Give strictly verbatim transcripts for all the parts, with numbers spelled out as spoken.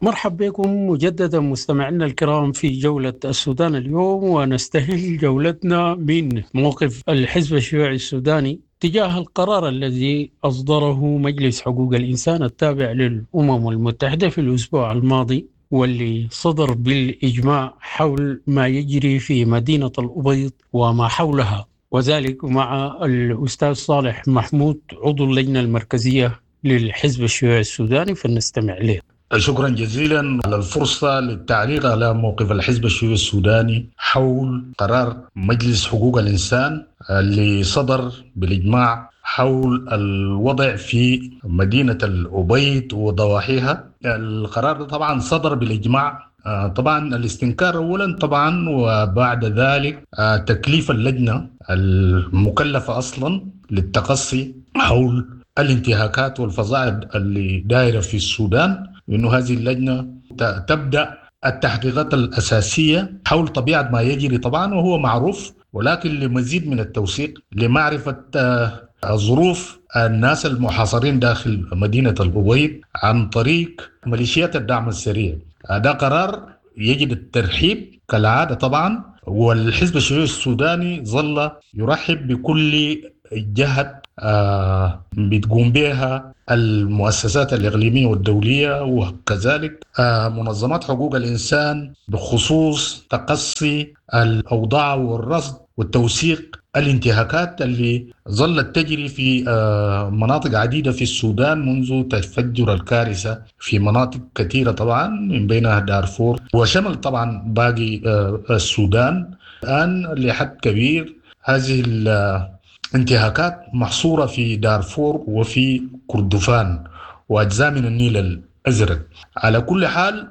مرحب بكم مجددا مستمعينا الكرام في جولة السودان اليوم، ونستهل جولتنا من موقف الحزب الشيوعي السوداني تجاه القرار الذي أصدره مجلس حقوق الإنسان التابع للأمم المتحدة في الأسبوع الماضي، واللي صدر بالإجماع حول ما يجري في مدينة الأبيض وما حولها، وذلك مع الأستاذ صالح محمود عضو اللجنة المركزية للحزب الشيوعي السوداني، فلنستمع له. شكرا جزيلا على الفرصة للتعليق على موقف الحزب الشيوعي السوداني حول قرار مجلس حقوق الإنسان اللي صدر بالإجماع حول الوضع في مدينة الأبيض وضواحيها. القرار طبعا صدر بالإجماع، طبعا الاستنكار أولا طبعا، وبعد ذلك تكليف اللجنة المكلفة أصلا للتقصي حول الانتهاكات والفظائع اللي دايرة في السودان، إنه هذه اللجنة تبدأ التحقيقات الأساسية حول طبيعة ما يجري طبعا وهو معروف، ولكن لمزيد من التوثيق لمعرفة ظروف الناس المحاصرين داخل مدينة الأبيض عن طريق ميليشيات الدعم السريع. هذا قرار يجب الترحيب كالعادة طبعا، والحزب الشيوعي السوداني ظل يرحب بكل جهة بتقوم بها المؤسسات الإقليمية والدولية وكذلك منظمات حقوق الإنسان بخصوص تقصي الأوضاع والرصد والتوثيق الانتهاكات اللي ظلت تجري في مناطق عديدة في السودان منذ تفجر الكارثة في مناطق كثيرة طبعا من بينها دارفور، وشمل طبعا باقي السودان. الآن لحد كبير هذه الانتهاكات محصورة في دارفور وفي كردفان وأجزاء من النيل الأزرق. على كل حال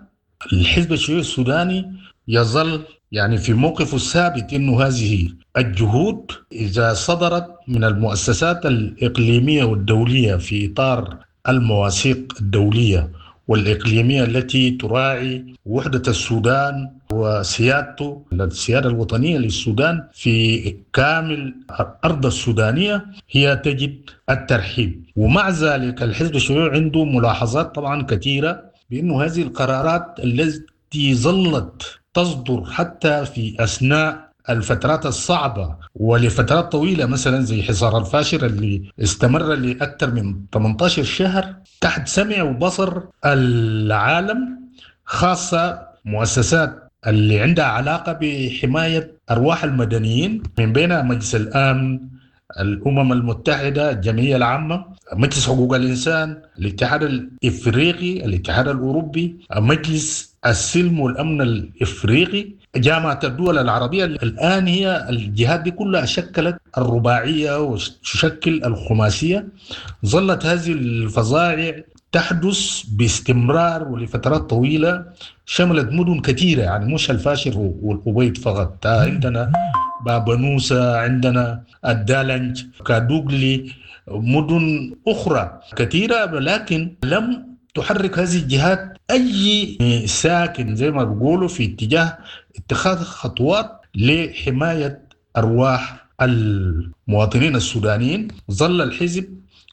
الحزب الشيوعي السوداني يظل يعني في موقفه الثابت إنه هذه الجهود إذا صدرت من المؤسسات الإقليمية والدولية في إطار المواثيق الدولية والإقليمية التي تراعي وحدة السودان وسيادته، السيادة الوطنية للسودان في كامل الأرض السودانية، هي تجد الترحيب. ومع ذلك الحزب الشيوعي عنده ملاحظات طبعا كثيرة بأنه هذه القرارات التي ظلت تصدر حتى في أثناء الفترات الصعبة ولفترات طويلة، مثلا زي حصار الفاشر اللي استمر لأكثر من ثمانية عشر شهر تحت سمع وبصر العالم، خاصة مؤسسات اللي عندها علاقة بحماية أرواح المدنيين من بينها مجلس الأمن، الأمم المتحدة، الجمعية العامة، مجلس حقوق الإنسان، الاتحاد الإفريقي، الاتحاد الأوروبي، مجلس السلم والأمن الإفريقي، جامعة الدول العربية. الآن هي الجهات دي كلها شكلت الرباعية وتشكل الخماسية. ظلت هذه الفظائع تحدث باستمرار ولفترات طويلة، شملت مدن كثيرة، يعني مش الفاشر والأبيض فقط، عندنا بابنوسة، عندنا الدالنج، كادوغلي، مدن أخرى كثيرة، لكن لم تحرك هذه الجهات أي ساكن زي ما بيقولوا في اتجاه اتخاذ خطوات لحماية أرواح المواطنين السودانيين. ظل الحزب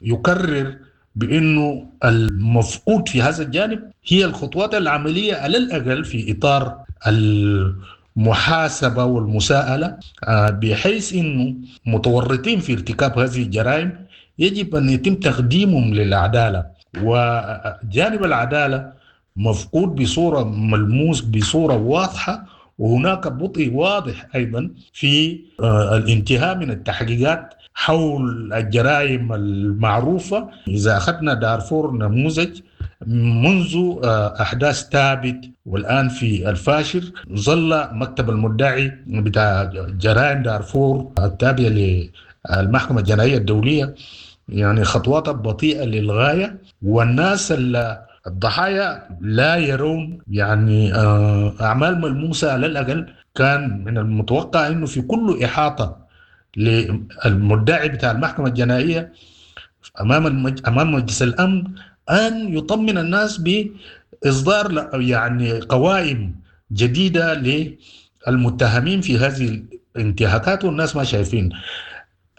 يكرر بأنه المفقود في هذا الجانب هي الخطوات العملية على الأقل في إطار المحاسبة والمساءلة، بحيث أنه متورطين في ارتكاب هذه الجرائم يجب أن يتم تقديمهم للعدالة. وجانب العدالة مفقود بصورة ملموس، بصورة واضحة، وهناك بطء واضح أيضا في الانتهاء من التحقيقات حول الجرائم المعروفة. إذا أخذنا دارفور نموذج، منذ أحداث ثابت والآن في الفاشر ظل مكتب المدعي بتاع جرائم دارفور التابع للمحكمة الجنائية الدولية يعني خطوات بطيئة للغاية، والناس الضحايا لا يرون يعني أعمال ملموسة. على الأقل كان من المتوقع أنه في كل إحاطة للمدعي بتاع المحكمة الجنائية أمام المج... أمام مجلس الأمن أن يطمن الناس بإصدار يعني قوائم جديدة للمتهمين في هذه الانتهاكات، والناس ما شايفين.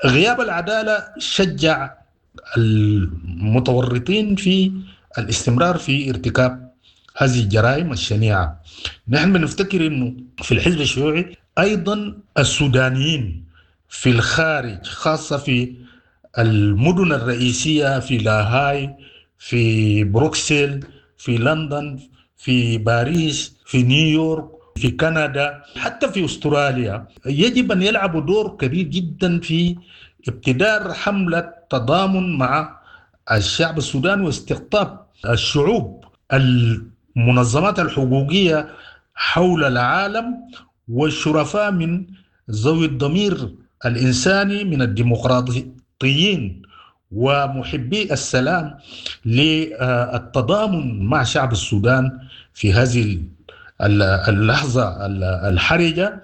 غياب العدالة شجع المتورطين في الاستمرار في ارتكاب هذه الجرائم الشنيعة. نحن بنفتكر أنه في الحزب الشيوعي أيضا السودانيين في الخارج، خاصة في المدن الرئيسية، في لاهاي، في بروكسل، في لندن، في باريس، في نيويورك، في كندا، حتى في أستراليا، يجب أن يلعبوا دور كبير جدا في ابتدار حملة تضامن مع الشعب السوداني واستقطاب الشعوب، المنظمات الحقوقية حول العالم والشرفاء من ذوي الضمير الإنساني من الديمقراطيين ومحبي السلام للتضامن مع شعب السودان في هذه اللحظة الحرجة،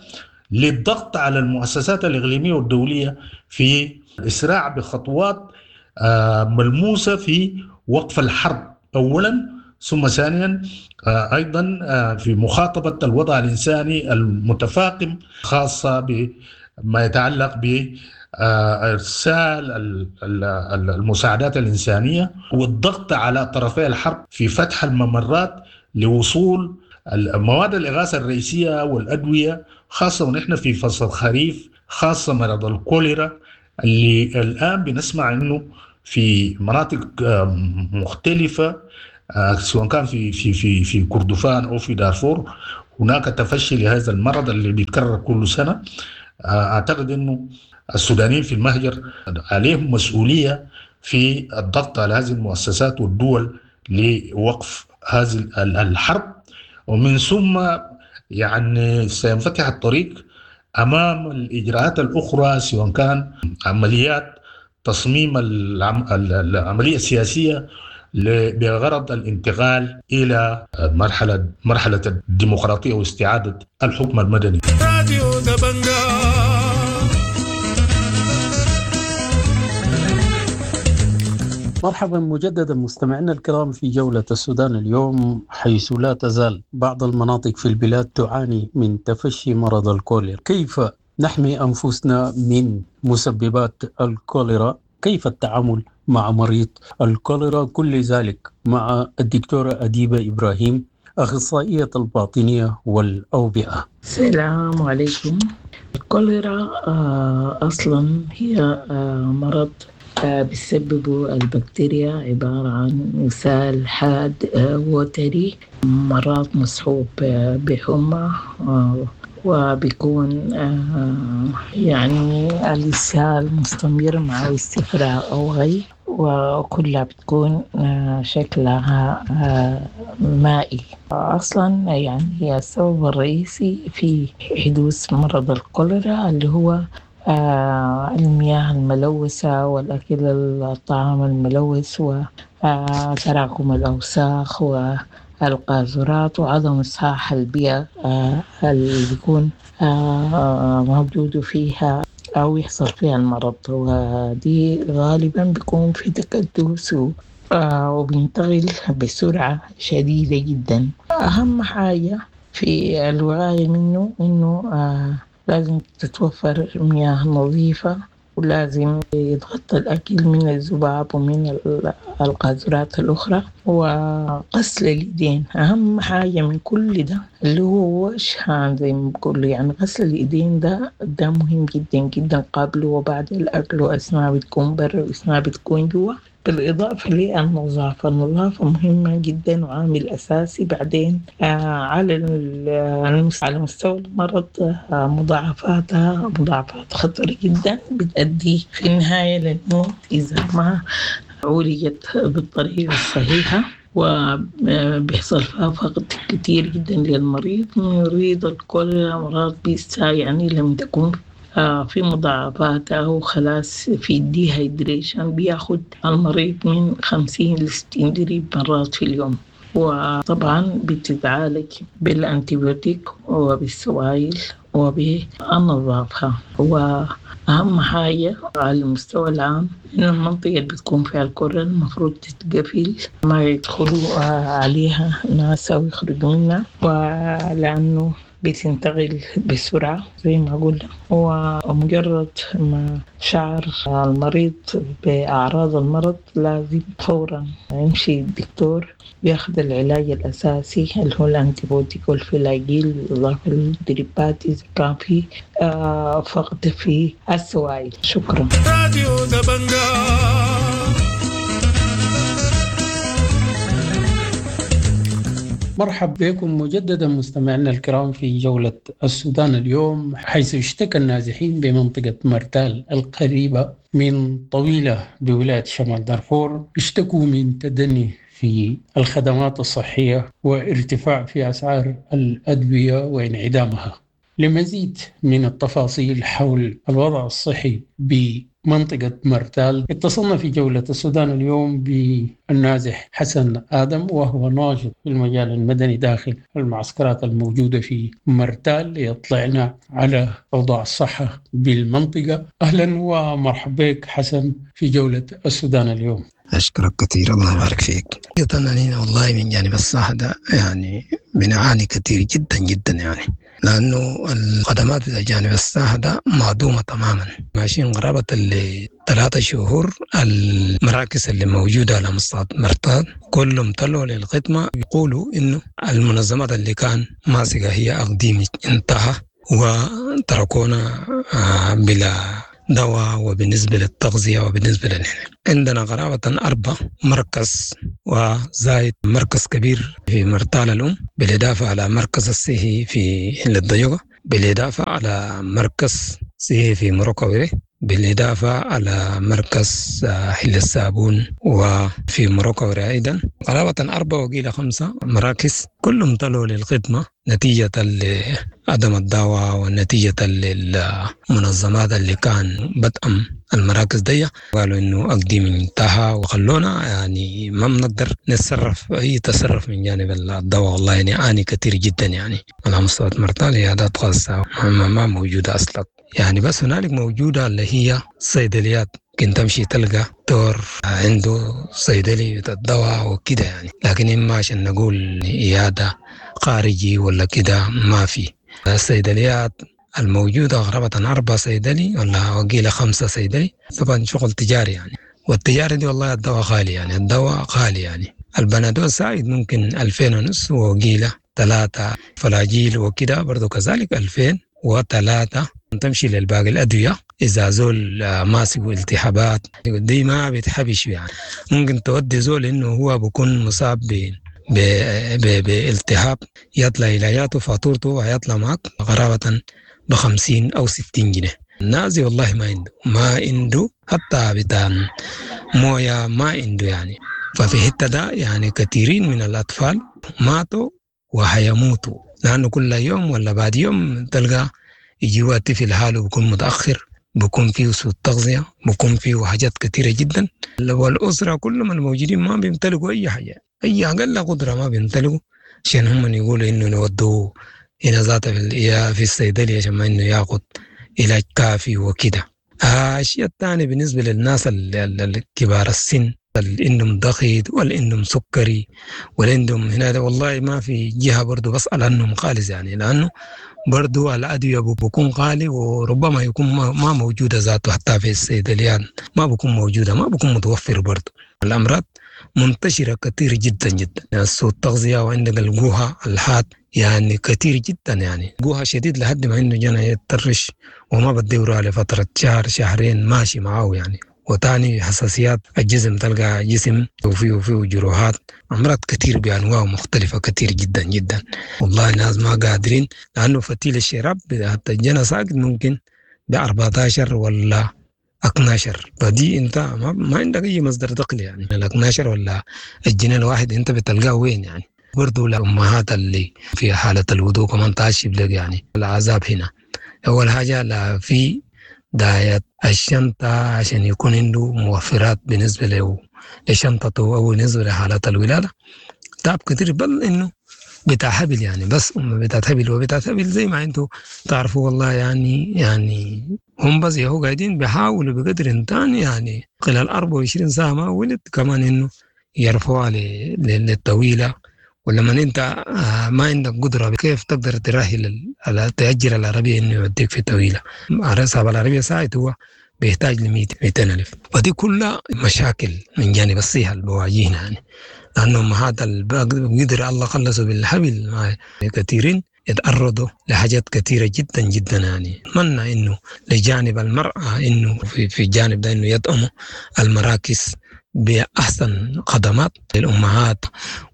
للضغط على المؤسسات الإقليمية والدولية في الإسراع بخطوات ملموسة في وقف الحرب أولا، ثم ثانيا أيضا في مخاطبة الوضع الإنساني المتفاقم، خاصة بما يتعلق بإرسال المساعدات الإنسانية والضغط على طرفي الحرب في فتح الممرات لوصول المواد الإغاثة الرئيسية والأدوية، خاصة ونحن في فصل الخريف، خاصة مرض الكوليرا اللي الآن بنسمع إنه في مناطق مختلفة، سواء كان في في في في كردفان أو في دارفور، هناك تفشي لهذا المرض اللي بيتكرر كل سنة. أعتقد إنه السودانيين في المهجر عليهم مسؤولية في الضغط على هذه المؤسسات والدول لوقف هذه الحرب، ومن ثم يعني سينفتح الطريق أمام الإجراءات الأخرى، سواء كان عمليات تصميم العملية السياسية بغرض الانتقال إلى مرحلة مرحلة الديمقراطية واستعادة الحكم المدني. مرحبا مجددا مستمعينا الكرام في جولة السودان اليوم، حيث لا تزال بعض المناطق في البلاد تعاني من تفشي مرض الكوليرا. كيف نحمي أنفسنا من مسببات الكوليرا؟ كيف التعامل مع مريض الكوليرا؟ كل ذلك مع الدكتورة أديبة إبراهيم، أخصائية الباطنية والأوبئة. السلام عليكم. الكوليرا أصلا هي مرض بتسببه البكتيريا، عبارة عن إسهال حاد وتري، مرات مصحوب بحمى، وبيكون يعني الإسهال مستمر مع استفراغ أو غي، وكلها بتكون شكلها مائي. أصلا يعني هي السبب الرئيسي في حدوث مرض الكوليرا اللي هو المياه الملوثة والأكل الطعام الملوث وتراكم الأوساخ والقاذورات وعدم إصحاح البيئة اللي بيكون موجود فيها أو يحصل فيها المرض، ودي غالبا بيكون في تكدس وبينتقل بسرعة شديدة جدا. أهم حاجة في الوقاية منه إنه لازم تتوفر مياه نظيفة، ولازم يتغطى الأكل من الذباب ومن القاذورات الأخرى، وغسل الإيدين أهم حاجة من كل ده اللي هو wash hand زي ما بقولوا، يعني غسل الإيدين ده ده مهم جدا جدا قبل وبعد الأكل وأثناء بتكون برا وأثناء بتكون جوا. بالإضافة للنظافة، النظافة مهمة جدا وعامل أساسي. بعدين آه على على مستوى المرض آه مضاعفاتها مضاعفات خطرة جدا بتؤدي في النهاية للموت إذا ما عولجت بالطريقة الصحيحة، وبيحصل فيها فقد كتير جدا للمريض. مريض الكوليرا مرض بيسا يعني لم تكن في مضاعفات أو خلاص في ال dehydration بياخد المريض من خمسين لستين drip مرات في اليوم، وطبعا بتتعالج بال antibiotic وبالسوائل وبالنظافة. وأهم حاجة على المستوى العام إن المنطقة اللي بتكون فيها الكوليرا المفروض تتقفل، ما يدخلوا عليها ناس أو يخرجوا منها، ولأنه بتنتقل بسرعة زي ما قلنا، ومجرد ما شعر المريض بأعراض المرض لازم فورا يمشي الدكتور بياخد العلاج الأساسي اللي هو ال antibiotic والفلاجيل بالإضافة للدريبات إذا كان في فقد في السوائل. شكرا. راديو دبنجا. مرحب بكم مجددا مستمعينا الكرام في جولة السودان اليوم، حيث اشتكى النازحين بمنطقة مرتال القريبة من طويلة بولاية شمال دارفور، اشتكوا من تدني في الخدمات الصحية وارتفاع في أسعار الأدوية وانعدامها. لمزيد من التفاصيل حول الوضع الصحي بمنطقة مرتال اتصلنا في جولة السودان اليوم بالنازح حسن آدم، وهو ناشط في المجال المدني داخل المعسكرات الموجودة في مرتال، ليطلعنا على أوضاع الصحة بالمنطقة. أهلا ومرحبا بك حسن في جولة السودان اليوم. أشكرك كثير، الله يبارك فيك. أنا والله من جانب الصحة ده يعني بنعاني كثير جدا جدا يعني، لأنه الخدمات بتاع جانب الصحة ده معدومة تماما. ماشيين قرابة اللي ثلاثة شهور المراكز اللي موجودة على مستوى مرتال كلهم طلعوا للخدمة، يقولوا إنه المنظمات اللي كان ماسكة هي أقديم انتهى وتركونا بلا دواء. وبالنسبة للتغذية وبالنسبة للحين عندنا قرابة أربع مركز وزايد مركز كبير في مرتال الأم، بالإضافة على مركز الصحي في حل الضيقة، بالإضافة على مركز صحي في مروكويري، بالإضافة على مركز حل الصابون وفي مروكويري أيضا. قرابة أربعة وقيل خمسة مراكز كلهم طلعوا للخدمة نتيجة لعدم الدواء ونتيجة للمنظمات اللي كان بدأم المراكز دي، قالوا إنه أقديم انتهى وخلونا يعني ما بنقدر نتصرف أي تصرف من جانب الدواء. والله يعني عاني كثير جدا يعني على مستوى مرتال عيادات خاصة ما موجودة أصلا يعني، بس هنالك موجودة اللي هي صيدليات، ممكن تمشي تلقى دكتور عنده صيدلي الدواء وكده يعني، لكن إما عشان نقول عيادة خارجي ولا كده ما في. الصيدليات الموجودة غرابة أربعة صيدلي ولا وقيلة خمسة صيدلي، طبعا شغل تجاري يعني، والتجاري دي والله الدواء غالي يعني، الدواء غالي يعني. البنادول سايد ممكن ألفين ونص وقيلة ثلاثة، فلاجيل وكده برضو كذلك ألفين وثلاثة. تمشي للباقي الأدوية إذا زول ماسك التهابات دي ما بتحبش يعني، ممكن تودي زول إنه هو بيكون مصاب ب بالتهاب يطلع علاجاته فاتورته ويطلع معك قرابة بخمسين أو ستين جنيه. النازي والله ما عنده، ما عنده حتى بتاع موية ما عنده يعني. ففي حتة ده يعني كثيرين من الأطفال ماتوا وهيموتوا، لأنه كل يوم ولا بعد يوم تلقى يجي طفل حاله بيكون متأخر، بيكون فيه سوء تغذية، بيكون فيه حاجات كثيرة جدا. والأسرة كلهم الموجودين ما بيمتلكوا أي حاجة، أي أقل قدرة ما بيمتلكوا، عشان هم يقولوا إنه نودوه هنا ذاته في في الصيدلية عشان ما إنه ياخد علاج كافي وكده. الشيء الثاني بالنسبة للناس الكبار السن، اللي عندهم ضغط واللي عندهم سكري واللي عندهم هنا، والله ما في جهة برضو بسأل عنهم خالص يعني، لأنه برضو الأدوية بيكون غالي وربما يكون ما موجودة ذاته حتى في الصيدليات، ما بيكون موجودة، ما بيكون متوفر برضو. الأمراض منتشرة كثير جدا جدا، يعني سوء التغذية وعندك الجوهة الحاد يعني كثير جدا، يعني جوها شديد لحد ما إنه جانا يتطرش وما بدورها لفترة شهر شهرين ماشي معاه يعني. وتاني حساسيات الجسم، تلقى جسم وفيه وفيه جروحات، أمراض كثير بأنواع مختلفة كثير جدا جدا. والله الناس ما قادرين، لأنه فتيل الشراب حتى الجنة ساقط ممكن ب أربعتاشر ولا اتناشر، فدي انت ما, ما عندك اي مصدر دخل يعني. ال اتناشر ولا الجنيه الواحد انت بتلقاه وين يعني؟ برضو الامهات اللي في حاله الوضوء كمان تعشب لك يعني العذاب هنا. اول حاجه لا في داية الشنطة عشان يكون عنده موفرات بالنسبة له لشنطته أو بالنسبة لحالات الولادة، تعب كتير، بل إنه بتاع حبل يعني، بس أم بتاع حبل وبتاع حبل زي ما أنتوا تعرفوا والله يعني. يعني هم بس يهو قاعدين بيحاولوا بقدر إمكان يعني خلال أربعة وعشرين ساعة ما ولد كمان إنه يرفعوها للطويلة ولما انت ما عندك قدرة كيف تقدر ترحل تأجر العربية انه يوديك في طويلة. صاحب العربية ساعد هو بيحتاج ل مئتين ألف. فدي كلها مشاكل من جانب الصحة اللي بواجهنا يعني. لأنه أمهات قدر الله خلصوا بالحبل كثيرين يتعرضوا لحاجات كثيرة جدا جدا يعني. أتمنى إنه لجانب المرأة إنه في, في الجانب ده إنه يدعموا المراكز بأحسن خدمات للأمهات.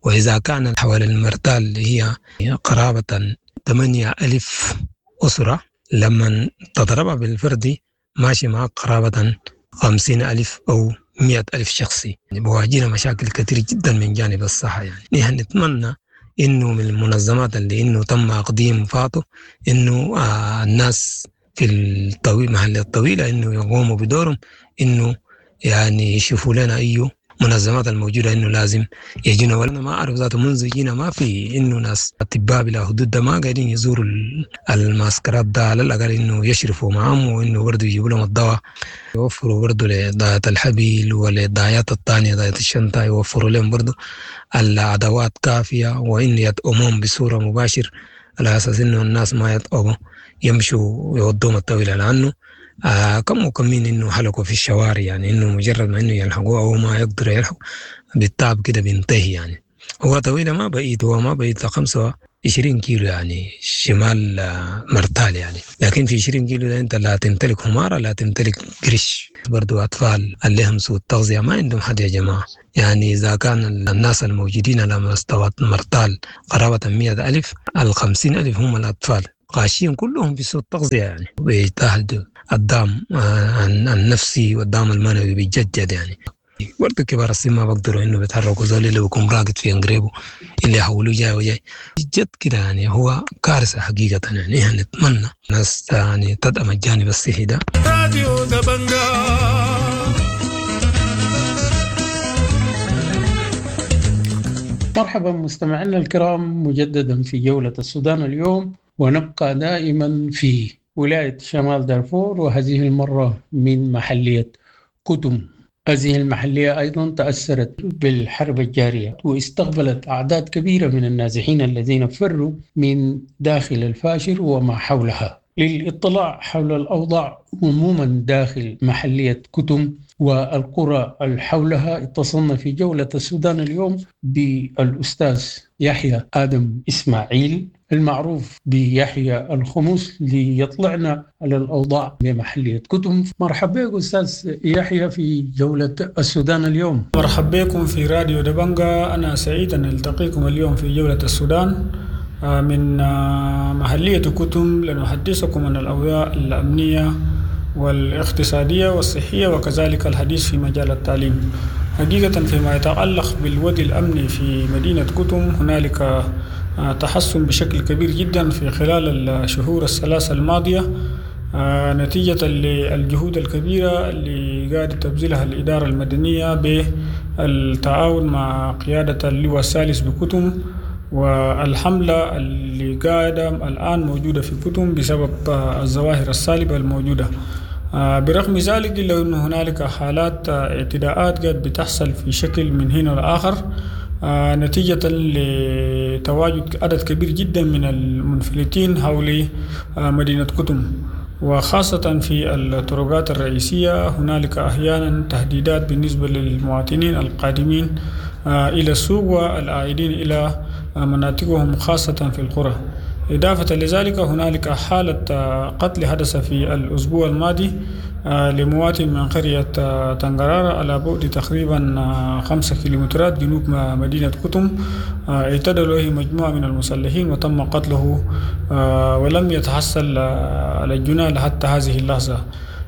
وإذا كان حوالي المرتال اللي هي قرابة ثمانية ألف أسرة، لما تضربها بالفردي ماشي معك قرابة خمسين ألف أو مئة ألف شخصي. يعني بواجهنا مشاكل كثير جدا من جانب الصحة يعني. نحن نتمنى إنه من المنظمات اللي إنه تم تقديم فاتو إنه آه الناس في الطويل محل الطويلة إنه يقوموا بدورهم، إنه يعني يشوفوا لنا أيه منظمات الموجودة إنه لازم يجينا. وأنا ما أعرف ذاته منذ جينا ما في إنه ناس أطباء بلا حدود ده ما قاعدين يزوروا المعسكرات ده، على الأقل إنه يشرفوا معهم وإنه برضه يجيبوا لهم الدواء، يوفروا برضه لضاية الحبيل ولضايات الثانية ضاية الشنطة، يوفروا لهم برضه الأدوات كافية، وإن يدعموهم بصورة مباشر على أساس إنه الناس ما يتعبوا يمشوا يودوهم الطويلة، لأنه آه كم وكمين إنه حلقوا في الشوارع يعني، إنه مجرد ما إنه يلحقوه أو ما يقدروا يلحقوا بالتعب كده بينتهي يعني. هو طويلة ما بعيد، هو ما بعيد خمسة وعشرين كيلو يعني شمال مرتال يعني، لكن في عشرين كيلو ده أنت لا تمتلك حمارة لا تمتلك قرش. برضو أطفال اللي هم سوء التغذية ما عندهم حد يا جماعة يعني. إذا كان الناس الموجودين على مستوى مرتال قرابة مئة ألف، الخمسين ألف هم الأطفال قاشين كلهم في سوء التغذية يعني، ويجتهدوا الدعم النفسي والدعم المعنوي بيتجدد يعني. برضه كبار السن ما بقدروا انه بيتحركوا، زول اللي بيكون راقد في انقريبه اللي يحولوه جاي وجاي جد كده يعني، هو كارثه حقيقه يعني. احنا نتمنى ناس يعني تدعم الجانب الصحي ده. راديو دبنجا. مرحبا مستمعينا الكرام مجددا في جولة السودان اليوم، ونبقى دائما في ولاية شمال دارفور، وهذه المرة من محلية كتم. هذه المحلية أيضا تأثرت بالحرب الجارية واستقبلت أعداد كبيرة من النازحين الذين فروا من داخل الفاشر وما حولها. للاطلاع حول الأوضاع عموما داخل محلية كتم والقرى حولها اتصلنا في جولة السودان اليوم بالأستاذ يحيى آدم إسماعيل المعروف بيحيى الخموس ليطلعنا على الأوضاع بمحلية كتم. مرحبا بك أستاذ يحيى في جولة السودان اليوم. مرحبا بكم في راديو دبنجا. أنا سعيد أن ألتقيكم اليوم في جولة السودان من محلية كتم لنحدثكم عن الأوضاع الأمنية والاقتصادية والصحية وكذلك الحديث في مجال التعليم. حقيقة فيما يتعلق بالوضع الأمني في مدينة كتم هنالك تحسن بشكل كبير جدا في خلال الشهور الثلاثة الماضية نتيجة للجهود الكبيرة اللي قاعدة تبذلها الإدارة المدنية بالتعاون مع قيادة اللواء الثالث بكتم والحملة اللي قاعدة الآن موجودة في كتم بسبب الظواهر السالبة الموجودة. برغم ذلك إلا أن هنالك حالات اعتداءات قد بتحصل في شكل من هنا لآخر نتيجة لتواجد عدد كبير جدا من المنفلتين حول مدينة كتم، وخاصة في الطرقات الرئيسية. هنالك أحيانا تهديدات بالنسبة للمواطنين القادمين إلى السوق والعائدين إلى مناطقهم خاصة في القرى. إضافة لذلك هنالك حالة قتل حدث في الأسبوع الماضي لمواطن من قرية تنغرارة على بعد تقريبا خمسة كيلومترات جنوب مدينة كتم، اعتدى له مجموعة من المسلحين وتم قتله ولم يتحصل على الجناة حتى هذه اللحظة.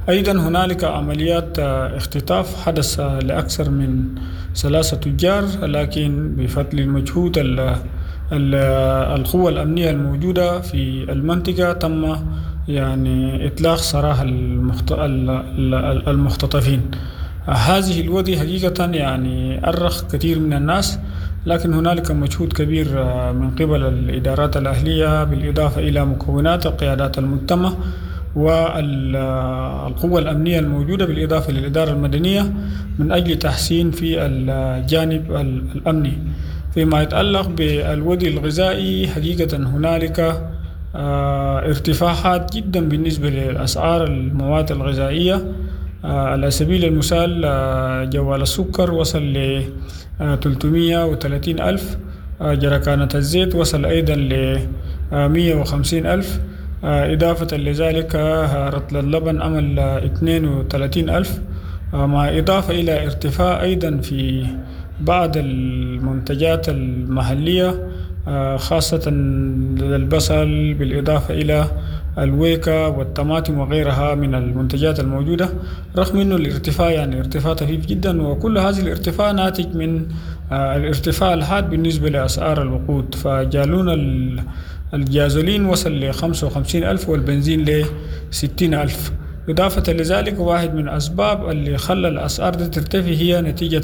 أيضا هنالك عمليات اختطاف حدث لأكثر من ثلاثة تجار، لكن بفضل المجهود القوة الأمنية الموجودة في المنطقة تم يعني إطلاق سراح المختطفين. هذه الوضع حقيقة يعني أرخ كثير من الناس، لكن هنالك مجهود كبير من قبل الإدارات الأهلية بالإضافة إلى مكونات قيادات المجتمع والقوة الأمنية الموجودة بالإضافة للإدارة المدنية من أجل تحسين في الجانب الأمني. فيما يتعلق بالودي الغذائي حقيقة هنالك ارتفاع حاد جدا بالنسبة للأسعار المواد الغذائية. على سبيل المثال جوال السكر وصل ل تلتمية وتلاتين ألف، جركانة الزيت وصل أيضا ل مية وخمسين ألف، إضافة لذلك رطل اللبن عمل اتنين وتلاتين ألف، مع إضافة إلى ارتفاع أيضا في بعض المنتجات المحلية خاصة البصل بالإضافة إلى الويكا والطماطم وغيرها من المنتجات الموجودة، رغم أنه الارتفاع يعني ارتفاع طفيف جدا، وكل هذه الارتفاع ناتج من الارتفاع الحاد بالنسبة لأسعار الوقود. فجالون الجازولين وصل ل خمسة وخمسين ألف والبنزين ل ستين ألف. إضافة لذلك واحد من أسباب اللي خلى الأسعار دي ترتفع هي نتيجة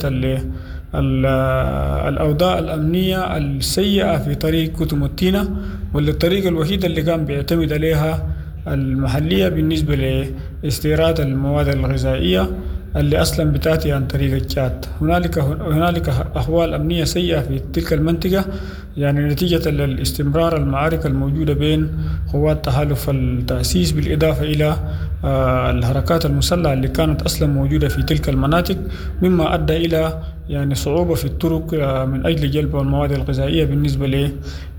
الأوضاع الأمنية السيئة في طريق كتم التينة، واللي الطريق الوحيد اللي كان بيعتمد عليها المحلية بالنسبة لاستيراد المواد الغذائية اللي أصلا بتأتي عن طريق التشاد. هنالك هنالك أحوال أمنية سيئة في تلك المنطقة، يعني نتيجة للاستمرار المعارك الموجودة بين قوات تحالف التأسيس بالإضافة إلى الحركات المسلحة اللي كانت أصلا موجودة في تلك المناطق، مما أدى إلى يعني صعوبة في الطرق من أجل جلب المواد الغذائية بالنسبة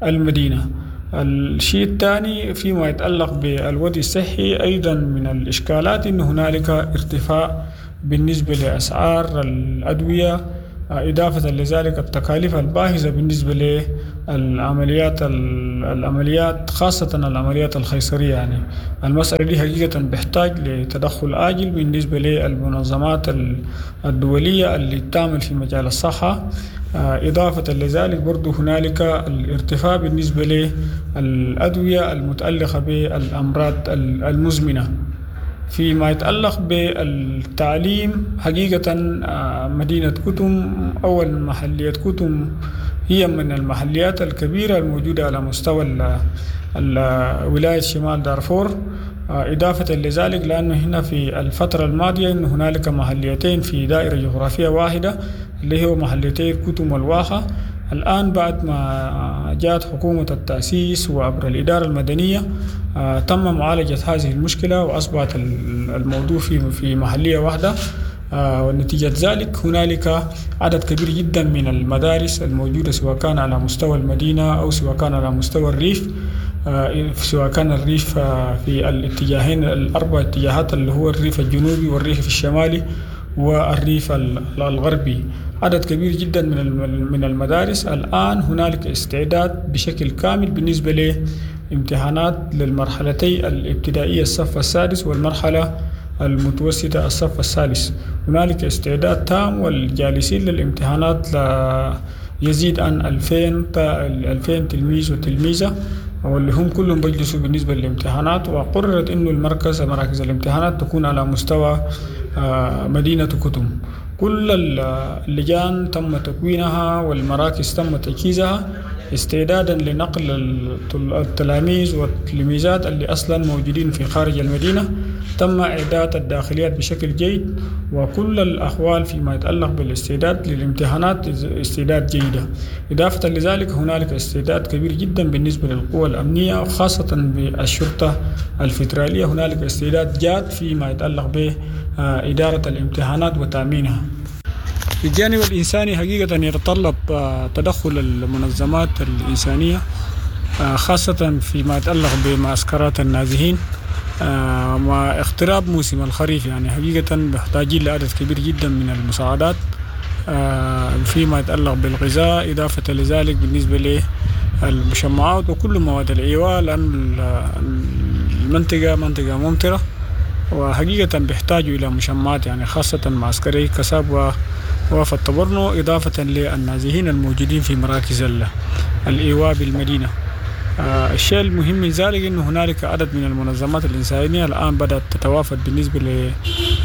للمدينة. الشيء الثاني فيما يتعلق بالوضع الصحي أيضا من الإشكالات أن هنالك ارتفاع بالنسبة لأسعار الأدوية، إضافة لذلك التكاليف الباهظة بالنسبة للعمليات العمليات خاصة العمليات الخيصرية. يعني المسألة دي حقيقة بيحتاج لتدخل عاجل بالنسبة للمنظمات الدولية اللي تعمل في مجال الصحة. إضافة لذلك برضو هنالك الارتفاع بالنسبة للأدوية المتعلقة بالأمراض المزمنة. فيما يتعلق بالتعليم حقيقة مدينة كتم أو المحلية كتم هي من المحليات الكبيرة الموجودة على مستوى ولاية شمال دارفور. إضافة لذلك لأنه هنا في الفترة الماضية إن هنالك محليتين في دائرة جغرافية واحدة اللي هو محليتي كتم والواحة. الآن بعد ما جاءت حكومة التأسيس وعبر الإدارة المدنية تم معالجة هذه المشكلة وأصبحت الموضوع في في محلية واحدة، ونتيجة ذلك هنالك عدد كبير جدا من المدارس الموجودة سواء كان على مستوى المدينة أو سواء كان على مستوى الريف، سواء كان الريف في الاتجاهين الأربع اتجاهات اللي هو الريف الجنوبي والريف الشمالي والريف الغربي. عدد كبير جدا من من المدارس. الآن هنالك استعداد بشكل كامل بالنسبة لامتحانات للمرحلتي الابتدائية الصف السادس والمرحلة المتوسطة الصف الثالث. هنالك استعداد تام والجالسين للامتحانات يزيد عن ألفين تلميذ وتلميذة واللي هم كلهم بيجلسوا بالنسبة للامتحانات. وقررت إنه المركز مراكز الامتحانات تكون على مستوى مدينة كتم. كل اللجان تم تكوينها والمراكز تم تجهيزها استعدادا لنقل التلاميذ والتلميذات اللي أصلا موجودين في خارج المدينة. تم إعداد الداخليات بشكل جيد وكل الأحوال فيما يتعلق بالاستعداد للامتحانات استعداد جيدة. إضافة لذلك هنالك استعداد كبير جدا بالنسبة للقوى الأمنية وخاصة بالشرطة الفيدرالية. هنالك استعداد جاد فيما يتعلق بإدارة الامتحانات وتأمينها. الجانب الإنساني حقيقة يتطلب تدخل المنظمات الإنسانية خاصة فيما يتعلق بمعسكرات النازحين مع اقتراب موسم الخريف. يعني حقيقة محتاجين لعدد كبير جدا من المساعدات فيما يتعلق بالغذاء، إضافة لذلك بالنسبة للمشمعات وكل مواد الإيواء، لأن المنطقة منطقة ممطرة وحقيقة بيحتاجوا إلى مشمعات، يعني خاصة معسكري كساب ووفد طبرنو، إضافة للنازحين الموجودين في مراكز الإيواء بالمدينة. آه الشيء المهم من ذلك أنه هنالك عدد من المنظمات الإنسانية الآن بدأت تتوافد بالنسبة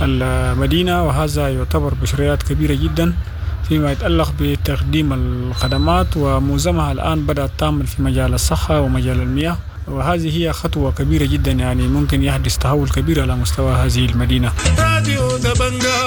للمدينة، وهذا يعتبر بشريات كبيرة جدا فيما يتعلق بتقديم الخدمات، ومعظمها الآن بدأت تعمل في مجال الصحة ومجال المياه، وهذه هي خطوة كبيرة جدا، يعني ممكن يحدث تحول كبير على مستوى هذه المدينة. راديو دبنجا.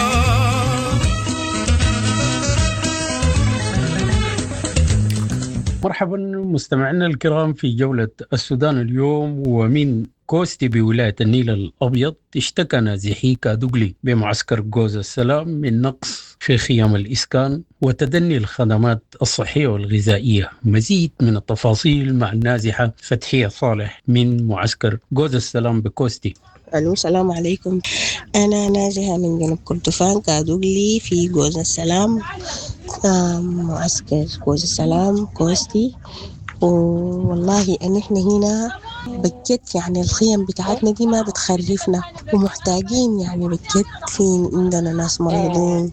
مرحبا مستمعينا الكرام في جولة السودان اليوم. ومن كوستي بولاية النيل الأبيض اشتكى نازحي كادوغلي بمعسكر جوز السلام من نقص في خيام الإسكان وتدني الخدمات الصحية والغذائية. مزيد من التفاصيل مع النازحة فتحية صالح من معسكر جوز السلام بكوستي. الو، السلام عليكم. انا نازحة من جنوب كردفان كادوغلي في جوز السلام، معسكر جوز السلام كوستي. والله ان احنا هنا بجد يعني الخيم بتاعتنا دي ما بتخرفنا ومحتاجين يعني بجد. في عندنا ناس مريضين،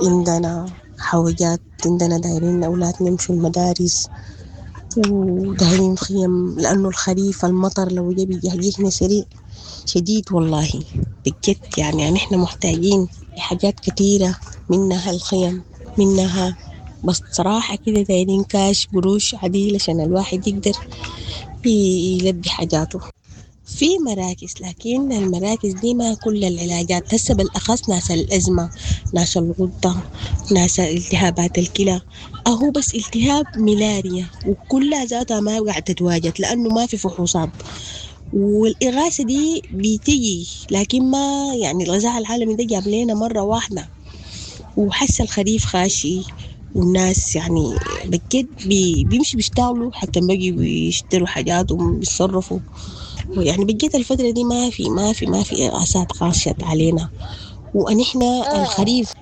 عندنا حوجات، عندنا دايرين أولادنا يمشوا المدارس ودايرين خيم، لأنه الخريف المطر لو جا بيجهجهنا سريع شديد والله بجد. يعني, يعني احنا محتاجين لحاجات كتيرة، منها الخيم، منها بس صراحة كده دايرين كاش قروش عديل عشان الواحد يقدر يلبي حاجاته. في مراكز، لكن المراكز دي ما كل العلاجات هسه، بالأخص ناس الأزمة، ناس الغدة، ناس التهابات الكلى، أهو بس التهاب ملاريا وكلها ذاتها ما قاعدة تتواجد لأنه ما في فحوصات. والإغاثة دي بتيجي لكن ما يعني الغذاء العالمي ده جاب لنا مرة واحدة، وحس الخريف خاشي والناس يعني بجد بي بيمشي بيشتغلوا حتى بيجي بيشتروا حاجات وبيتصرفوا. ويعني بجد الفترة دي ما في ما في ما في إغاثات خاشت علينا. ونحن الخريف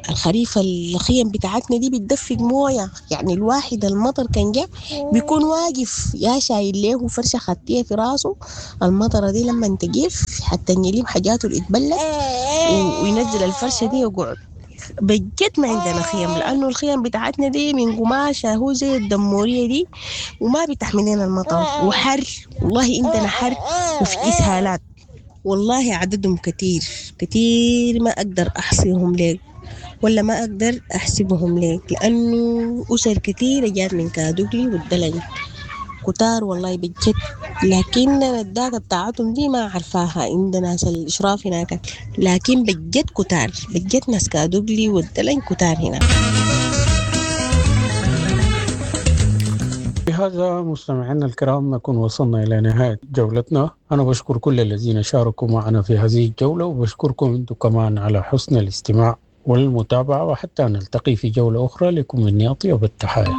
الخريف الخيم بتاعتنا دي بتدفق مويه، يعني الواحد المطر كان جا بيكون واقف يا شايل له فرشه خطيه في راسه، المطره دي لما تجف حتى يلم حاجاته اللي اتبلت وينزل الفرشه دي ويقعد. بجد ما عندنا خيم لانه الخيم بتاعتنا دي من قماشه هو زي الدموريه دي وما بتحمل لنا المطر، وحر والله عندنا حر وفي اسهالات والله عددهم كتير كتير، ما اقدر احصيهم لك ولا ما اقدر احسبهم لك لانه اسر كتيره جات من كادوغلي والدلنج كتار والله بجد. لكن ال data بتاعتهم دي ما عارفاها عند ناس الاشراف هناك، لكن بجد كتار بجد ناس كادوغلي والدلنج كتار هنا. بهذا مستمعينا الكرام نكون وصلنا إلى نهاية جولتنا. أنا بشكر كل الذين شاركوا معنا في هذه الجولة، وبشكركم أنتم كمان على حسن الاستماع والمتابعة، وحتى نلتقي في جولة أخرى. لكم مني أطيب التحايا.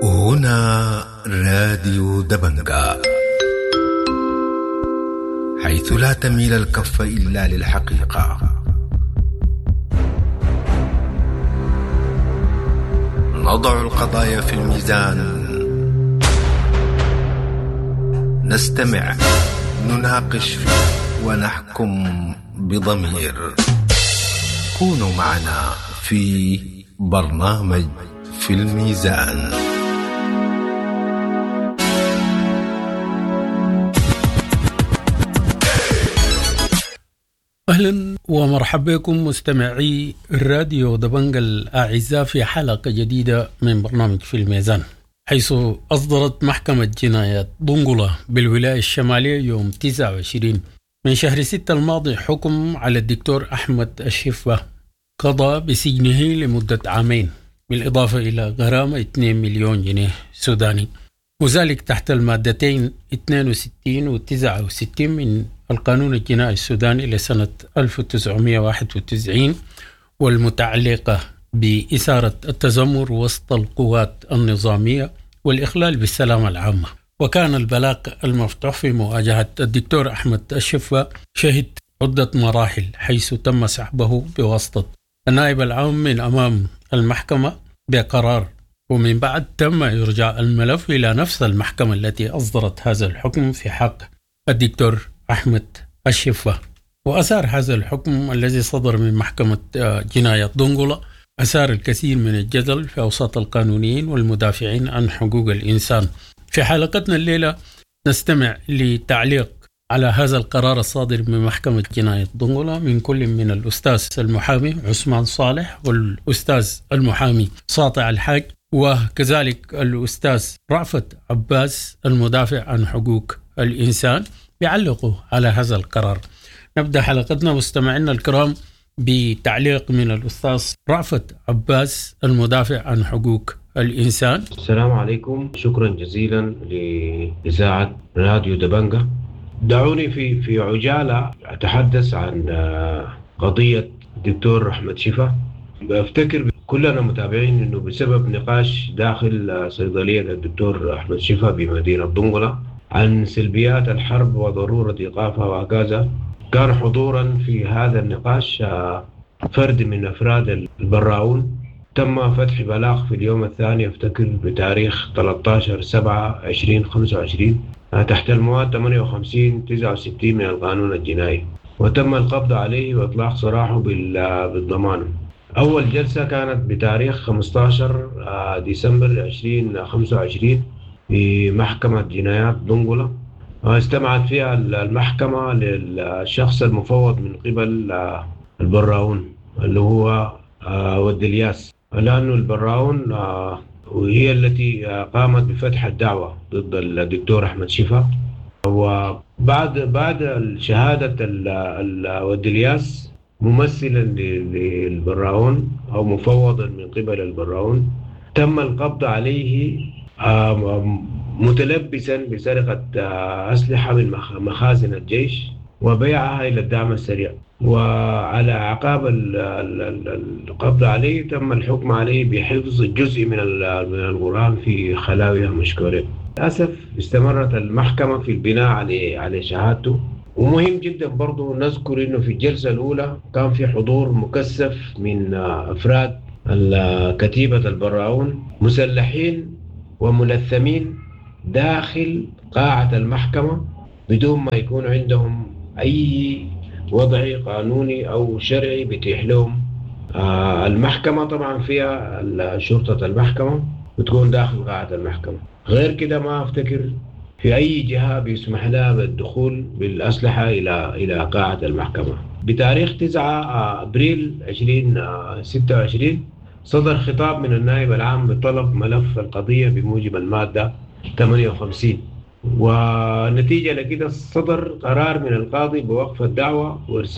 هنا راديو دبنجا، حيث لا تميل الكف إلا للحقيقة. نضع القضايا في الميزان، نستمع، نناقش، ونحكم بضمير. كونوا معنا في برنامج في الميزان. أهلا ومرحبا بكم مستمعي الراديو دبنجا الأعزاء في حلقة جديدة من برنامج في الميزان، حيث أصدرت محكمة جنايات دنقلة بالولاية الشمالية يوم تسعة وعشرين من شهر ستة الماضي حكم على الدكتور أحمد الشفة قضى بسجنه لمدة عامين، بالإضافة إلى غرامة اثنين مليون جنيه سوداني، وذلك تحت المادتين اثنين وستين و تسعة وستين من القانون الجنائي السوداني لسنة ألف وتسعمائة وواحد وتسعين، والمتعلقة بإثارة التذمر وسط القوات النظامية والإخلال بالسلامة العامة. وكان البلاغ المفتوح في مواجهة الدكتور أحمد الشفة شهد عدة مراحل، حيث تم سحبه بواسطة النائب العام من أمام المحكمة بقرار، ومن بعد تم إرجاع الملف إلى نفس المحكمة التي أصدرت هذا الحكم في حق الدكتور أحمد الشفة. وأثار هذا الحكم الذي صدر من محكمة جناية دنقلة أثار الكثير من الجدل في أوساط القانونيين والمدافعين عن حقوق الإنسان. في حلقتنا الليلة نستمع لتعليق على هذا القرار الصادر من محكمة جناية دنقلة من كل من الأستاذ المحامي عثمان صالح والأستاذ المحامي ساطع الحاج، وكذلك الأستاذ رأفت عباس المدافع عن حقوق الإنسان، بيعلقوا على هذا القرار. نبدأ حلقتنا مستمعينا الكرام بتعليق من الأستاذ رأفت عباس المدافع عن حقوق الإنسان؟ السلام عليكم، شكرا جزيلا لإذاعة راديو دبنجة. دعوني في في عجالة أتحدث عن قضية الدكتور أحمد شفا. بفتكر كلنا متابعين أنه بسبب نقاش داخل صيدلية الدكتور أحمد شفا بمدينة دنقلة عن سلبيات الحرب وضرورة إيقافها وهكذا، كان حضورا في هذا النقاش فرد من أفراد البراؤون. تم فتح بلاغ في اليوم الثاني افتكر بتاريخ ثلاثة عشر سبعة عشرين خمسة وعشرين تحت المواد ثمانية وخمسين تسعة وستين من القانون الجنائي، وتم القبض عليه وإطلاق سراحه بالضمان. أول جلسة كانت بتاريخ خمسة عشر ديسمبر عشرين خمسة وعشرين في محكمة جنايات دنقلة، استمعت فيها المحكمة للشخص المفوض من قبل البراؤون اللي هو ود الياس، لأنه البراؤون وهي التي قامت بفتح الدعوة ضد الدكتور أحمد شفا. وبعد بعد شهادة ود الياس ممثلا للبراؤون أو مفوضا من قبل البراؤون، تم القبض عليه متلبسا بسرقة أسلحة من مخازن الجيش وبيعها إلى الدعم السريع. وعلى أعقاب القبض عليه تم الحكم عليه بحفظ جزء من من القرآن في خلاويها مشكورين. للأسف استمرت المحكمة في البناء على على شهادته. ومهم جدا برضو نذكر إنه في الجلسة الأولى كان في حضور مكثف من أفراد كتيبة البراؤون مسلحين وملثمين داخل قاعة المحكمة بدون ما يكون عندهم أي وضع قانوني أو شرعي بيتيح لهم. آه المحكمة طبعا فيها شرطة المحكمة بتكون داخل قاعة المحكمة، غير كده ما أفتكر في أي جهة بيسمح لها بالدخول بالأسلحة إلى إلى قاعة المحكمة. بتاريخ تسعة أبريل عشرين ستة وعشرين صدر خطاب من النائب العام بطلب ملف القضية بموجب المادة ثمانية وخمسين، ونتيجة لكده صدر قرار من القاضي بوقف الدعوة وإرسال